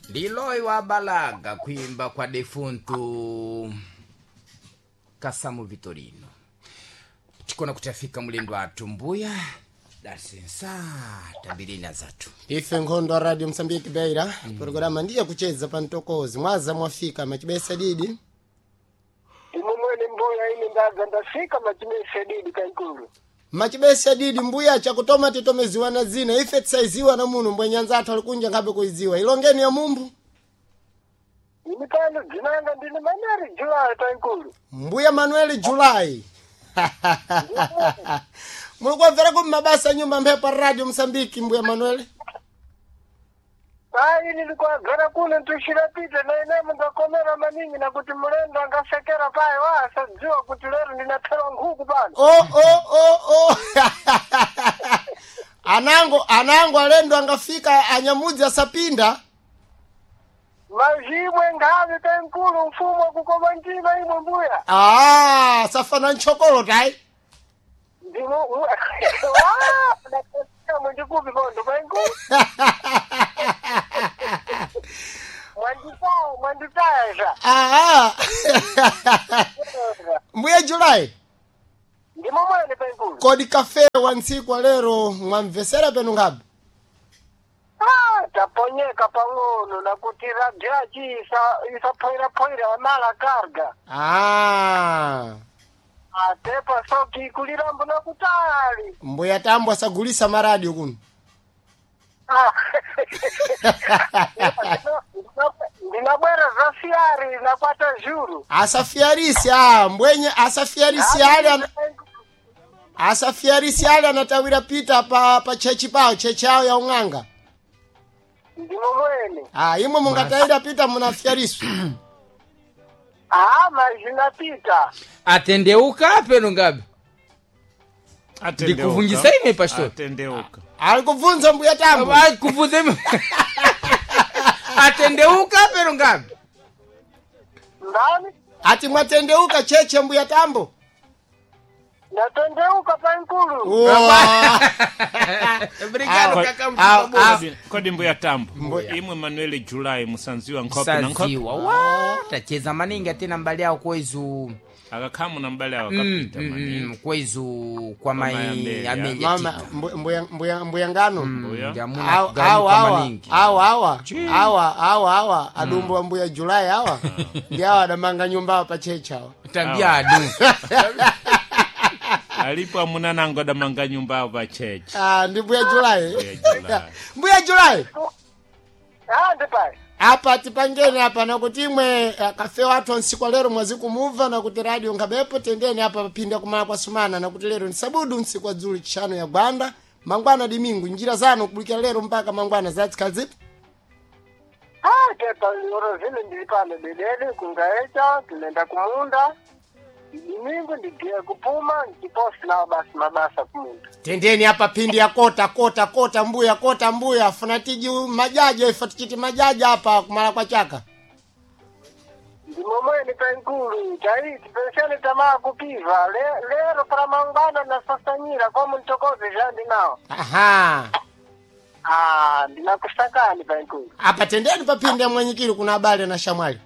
Ndiloyi wa Balaga kuimba kwa defuntu Kasamu Vitorino. Tikona kuti afika mulendo athu mbuya dasensa tambirina zathu. Ife nkhondo wa Radio Msambiki Beira, programa ndiye kucheza pa mtokozi. Mwaza mwafika machibesa didi. Imwe mwene mbuya ine ndaza ndafika machibesa didi kaikulu. Machibesa didi mbuya chakutoma titomeziwa na zina ife tisaiziwa na muno mbwenyanza athu alikunja ngabe kuiziwa. Ilongeni ya mumbu. Ini pano dzinanga ndine Manuel Julai kaikulu. Mbuya Manuel Julai. Mulikuwamvera ku mabasa nyumba mphepo Radio Msambiki mbuya Manuel. Ayi nilikuwagara kuno ntushirapita na ine mungakomera maningi na kuti mulendo angasekera paye wasadziwa kuti lero ndinaphera nkhuku pano. Oh oh oh oh. Anango anango alendo angafika anyamudzi asapinda. Mazimwe ngavi penkulu mfumo wakukoma mtima imwe mbuya. Ah, safana nchokolo tai. Ndimo mwendikupi pondo penkulu. Mwanditaya mwanditaya. Ah. Mbuya Julai. Ndimo mwene penkulu. Kodi kafe wa ntsiku wa lero mwamvesera penu ngabe? Ah, taponyeka pang'ono nakuti radyachi isaphoyiraphwayira amala karga. Ah. Atepa soki ikulirambo nakutali. Mbuya Tambo asagulisa maradio kuno. Ah. Ndinabwera za fiari nakwata zhuru. Asafiarisi ah, mbwenye asafiarisi ale asafiarisi ale anatawira pita pa pa chechi pao chechi yao ya ung'anga. Ndimo mwene. Ah, imwe mungatawira pita munafiarisu. Ah, mazinapita. Atendeuka peno ngabe. Atendeuka. Ndikuvunjisa ine, pastor. Atendeuka. Alikubvunza mbuya Tambo. Ah, Kuvunza ime. Atendeuka peno ngabe. Ndani? Ati mwatendeuka cheche mbuya Tambo. Natendeuka pankulu. Uwa. Obrigado Ah, kaka ah, mkubwa. ah. Kodi mbuya Tambo. Imwe Manuel Julai musanziwa nkhope na nkhope. Saziwa wa tacheza maningi atina mbali yawo kwezu Akakhamu na mbali awo akapita maningi. kwezu kwa mai mai Amelia. Amelia Mama Tito. mbuya mbuya mbuya ngano. Mbuya. Ndamuna Awa kuganika awa awa maningi. awa awa awa awa awa adumbu wa mbuya Julai awa ndi awa adamanga nyumba awa pa chechi awa. Tambia adu. Alipo amuna nango adamanga nyumba awo pa chechi. Ah, ndi mbuya Julai. Mbuya Julai. Mbuya Julai. Ah, ndipai. Apa tipangeni apa nakuti imwe kafe wathu nsiku lero mwazikumuva nakuti radio ngabepo tendeni apa papinda kumala kwa sumana nakuti lero ni sabudu nsiku wa dzulu chishanu ya gwanda mangwana dimingu njira zanu kubulikira lero mpaka mangwana zatsikhala zipi. Ah, tepa oro zile ndili pano bedede kungaecha tinenda kumunda. Dimingu ndigiye kupuma ndiposi nawo basi mabasa kumunda. Tendeni apa pindi ya kota kota kota mbuya kota mbuya funa tiji majaji ife tichiti majaji apa kumala kwa chaka. Ndimo mwene penkulu taiti pensele tamaa kupiva lero para mangwana nasasanyira kwa muntokoze jandi nawo. Aha. Ah, ndinakusakani penkulu. Apa tendeni papindi ya mwenyikili kuna habari na shamwali.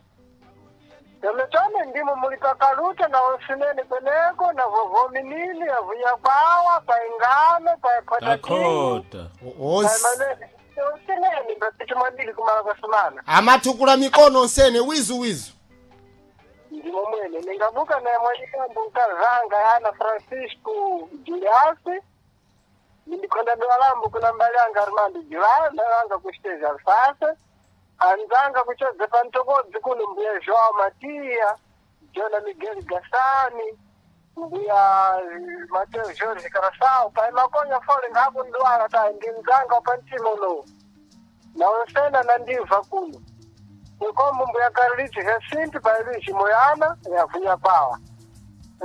Tome ndimo mulipakaluta na osinene kweneko na vovominini avuya kwawa paingano paepotatimu Takota. Osi. osinene papitimwadili kumala kwa sumana. Amatukula mikono onsene wizu wizu. Ndimo mwene ningabuka naye mwanyikambo nkazanga yana Francisco Juliasi ndikonda dwalambo kuna mbali yanga Armando Julai ndalanga kuchiteza Alfasa anzanga kuchodza pantokodzi kuno mbuya Joao Matia Jona Miguel Gassani mbuya Mateo Jorge Carasau pai makonya fole ngakundwala tai ndi mzanga pantima uno na onsena nandibva kuno nkombo mbuya Carlitos Jacinto pai Luiz Moyana yavunya pawa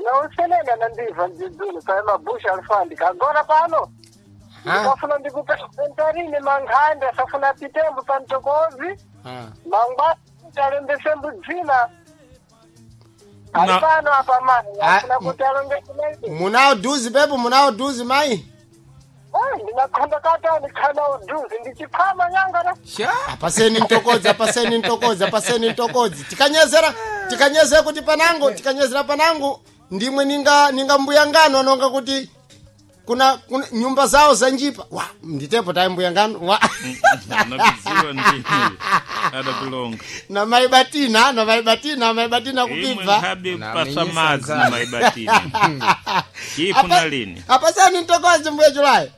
na onsenena nandibva mdzidzulo pai mabusha alfandi kagora pano ndikafuna ndikupe mankhande asafuna pitembo pantokozi Ah. mangwa talembesembu dzina ali pano apa mani Ah, afuna kuti alongese Munao duzi pepo munao duzi mai. Ai, ndinakhonda katani khana uduzi ndichikhama nyanga na. Sha. Apaseni mtokodzi, apaseni mtokodzi, apaseni mtokodzi. Tikanyezera, tikanyezera kuti panango, tikanyezera panango ndimwe ninga mbuya ngano anonga kuti kuna nyumba zawo zanjipa. Wa, nditepo tayi mbuya ngano. Wa. Anabiziwa ndi adapilonga. Na maibatina, na maibatina, maibatina Imwe kupibva. nkhabe Na kupasa amenyesa madzi na nzala. maibatini. Chipo lini? Apaseni mtokodzi mbuya Julai.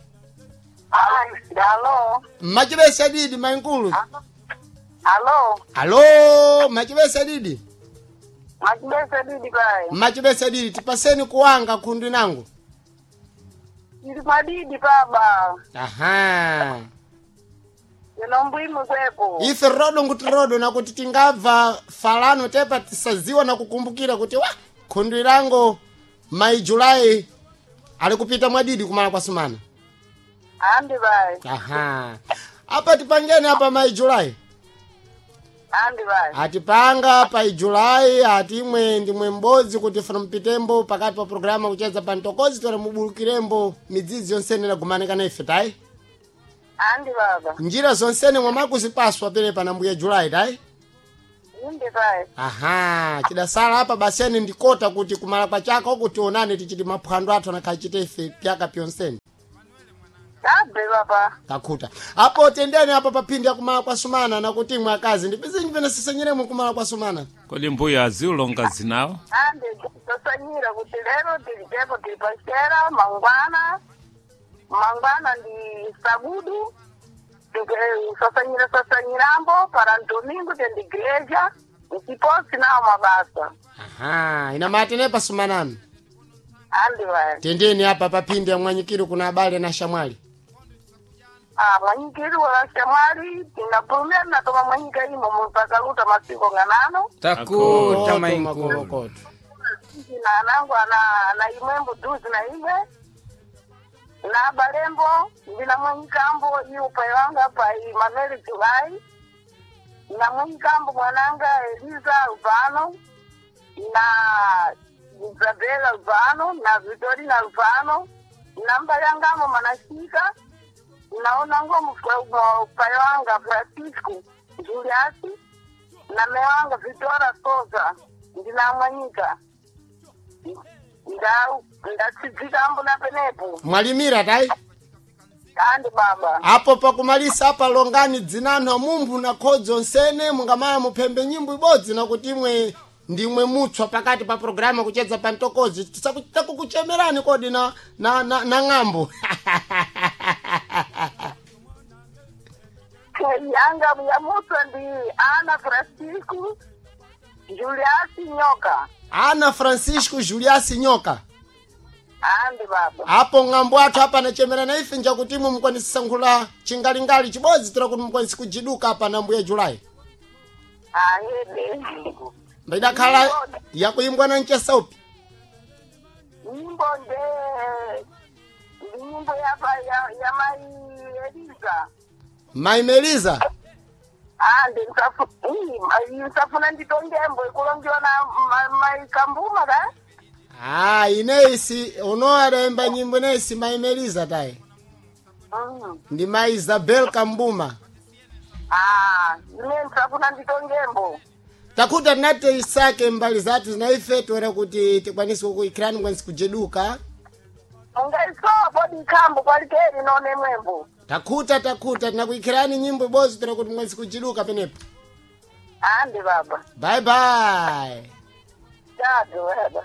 Ai, alo. Machibesa didi mainkulu. Alo. Alo, machibesa didi. Machibesa didi pai. Machibesa didi tipaseni kuwanga khundu nangu. Ndiri madidi baba. Aha. Ino kwepo. Ife rodo nguti rodo nakuti tingabva falano tepa tisaziwa na kukumbukira kuti wa khundu lango mai Julai ali kupita mwadidi kumala kwa sumana. Andi pai. Aha. Apa tipangeni apa mai Julai. Andi pai. Atipanga pa Julai atimwe ndimwe mbodzi kuti funa mpitembo pakati pa programa kucheza pa ntokozi tore mubulukirembo midzidzi yonsene inagumanika na ife tayi. Andi baba. Njira zonsene mwamakuzipaswa pele na mbuya Julai tayi. Indi pai. Aha, chidasala apa baseni ndikota kuti kumala kwa chaka uku tionane tichiti maphwando athu anakhachite ife pyaka pyonsene. Tabe baba. Takhuta. Apo tendeni apa paphindi ya kumala kwa sumana nakuti imwe akazi ndipizinji pene sisenyeremo kumala kwa sumana. Kodi mbuya aziulonga zinawo? Andi tosanyira kuti lero tilipepo tili pachera mangwana. Mangwana ndi sabudu. Sasanyira sasanyirambo para domingo tendi igreja. Ntiposi nawo mabasa. Aha, inamatene pasumanani. Andi pai. Tendeni apa paphindi ya mwanyikiro kuna abale na shamwali. Ah, mwanyikiri wa shamwali tinapulumia natoma mwanyika imo mpaka luta masiko ng'anano. Takuta mainkulu. Makolokoto. Na anangu ana imwembo duzi na imwe na balembo ndina mwanyikambo iupai wanga pai Manuel Julai na mwanyikambo mwananga Eliza Albano na Isabela Albano na Vitorina Albano na mbalangamo manashika naonango pai wanga Francisco Juliasi na mewanga Vitora Souza ndina mwanyika ndatsidzikambo na penepo Mwalimira tayi. andi baba Apo pakumalisa apa longani dzinanho mumphu na khodzo nsene mungamaya muphembe nyimbo ibodzi nakuti imwe ndimwe mutswa pakati pa programa kucheza pa ntokozi takukuchemerani kodi na ng'ambo. Yanga yamutswa ndi Ana Francisco Juliasi Nyoka. Ana Francisco Juliasi Nyoka. Andi baba. Apo ng'ambo athu apa anachemera na ife njakuti imwe mukwanisa chingalingali chibodzi tira kuti mukwanisi kujiduka apa na mbuya Julai. Ahede. Mbidakhala yakuimbwa na mchesa upi. Nyimbo ndi nyimbo ya mai Eliza. Mai Meliza. Andi nsafuna nditongembo ikulongiwa na mai Kambuma ka? Ah, ineisi uno adaimba nyimbo ineisi Mai Meliza tayi. Ndi Mai Isabel Kambuma. Ah, ine nsafuna nditongembo. Takuta tinate isake mbali zathu zinaife toera kuti tikwanise kuikirani mukwanisi kujeduka. Mungaisowa podi ikhambo kwalikeri none mwembo. Takuta takuta tinakuikirani nyimbo ibodzi toera kuti mukwanisi kujiduka penepo. Andi baba. Bye bye. Tatu baba.